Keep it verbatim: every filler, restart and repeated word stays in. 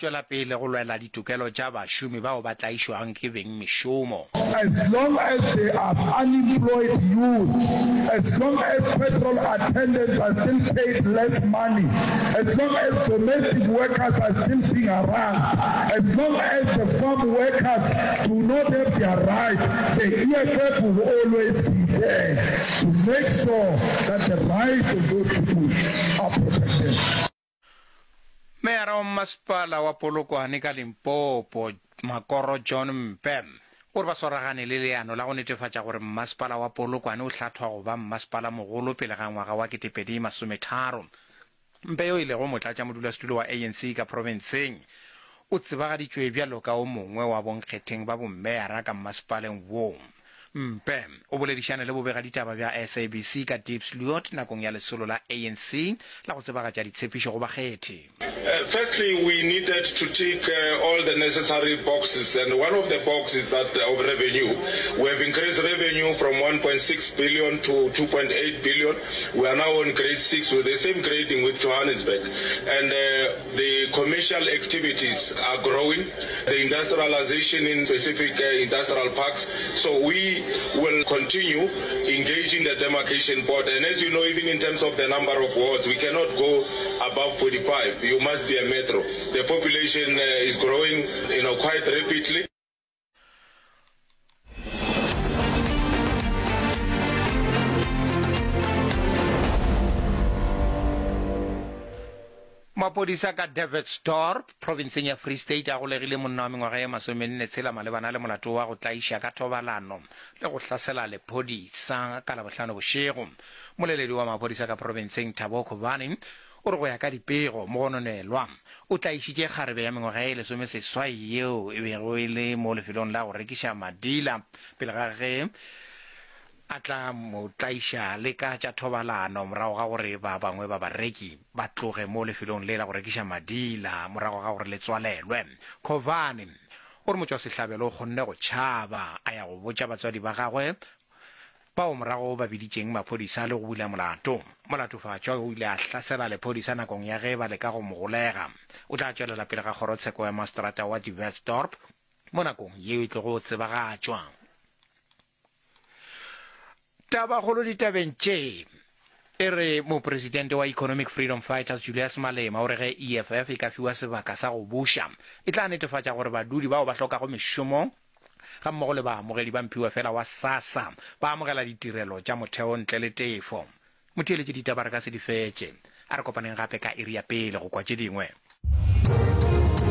tšwela pele go lwela ditokelo tša bašomi bao ba tlaišwago ke bengmešomo. As long as there are unemployed youth, as long as petrol attendants are still paid less money, as long as domestic workers are still being harassed, as long as the farm workers do not have their rights, the E F F will always be there to make sure that the rights of those people are protected. Meyara wa Mmasepala wa Polokwane ka Limpopo, Makoro John Mpe, o re ba swaragane le leano la go netefatša gore Mmasepala wa Polokwane o hlathwa go ba mmasepala mogolo pele ga ngwaga wa ketepedi masometharo. Mpe, yo e lego motlatšamodulasetulo wa A N C ka profenseng, o tsebagaditšwe bjalo ka o mongwe wa bonkgetheng ba bommeyara ka mmasepaleng wo. Mpe o boledišane le bobegaditaba bja S A B C ka Diepsloot nakong ya lesolo la A N C la go tsebagatša ditshepišo go bakgethi. Uh, firstly, we needed to tick uh, all the necessary boxes, and one of the boxes that uh, of revenue. We have increased revenue from one point six billion to two point eight billion. We are now on grade six with the same grading with Johannesburg, and uh, the commercial activities are growing. The industrialization in specific uh, industrial parks. So we will continue engaging the demarcation board, and as you know, even in terms of the number of wards, we cannot go above forty-five. You must be a metro. The population uh, is growing, you know, quite rapidly. Maphodisa ka Dewetsdorp, provinseng ya Free State, a golegile monna wa mengwaga ye masomenne tshela malebana le molato wa go tlaiša ka thobalano le go hlasela lephodisa ka Labohlano bošego. Moleledi wa maphodisa ka profenseng, Thabo Khobane, o re go ya ka dipego, mogononelwa o tlaišitše kgarebe ya mengwaga ye lesomeseswai yeo e bego e le mo lefelong la go rekiša madila pele ga ge a tla mo tlaiša le ka tša thobalano morago ga gore ba bangwe ba bareki ba tloge mo lefelong le la go rekiša madila morago ga gore le tswalelwe. Covane o re motšwasehlabelo o kgonne go tšhaba a ya go botša batswadi ba gagwe, bao morago ba biditšeng maphodisa le go bula molato. Molatofatšwa o ile a hlasela lephodisa nakong ya ge ba leka go mo golega. O tla tšwelela pele ga kgorotsheko ya maseterata wa Dewetsdorp mo nakong yeo e tlogo tsebagatšwa. Tabakgolo ditabeng tše e re mopresidente wa Economic Freedom Fighters, Julius Malema, o re ge E F F e ka fiwa sebaka sa go buša, e tla netefatša gore badudi bao ba hlokago mešomo ga mmogo le baamogedi ba mphiwa fela wa SASSA ba amogela ditirelo tša motheo ntle le tefo. Motheeletše, ditaba re ka se di fetše. A re kopaneng gape ka iri ya pele go kwa tše dingwe.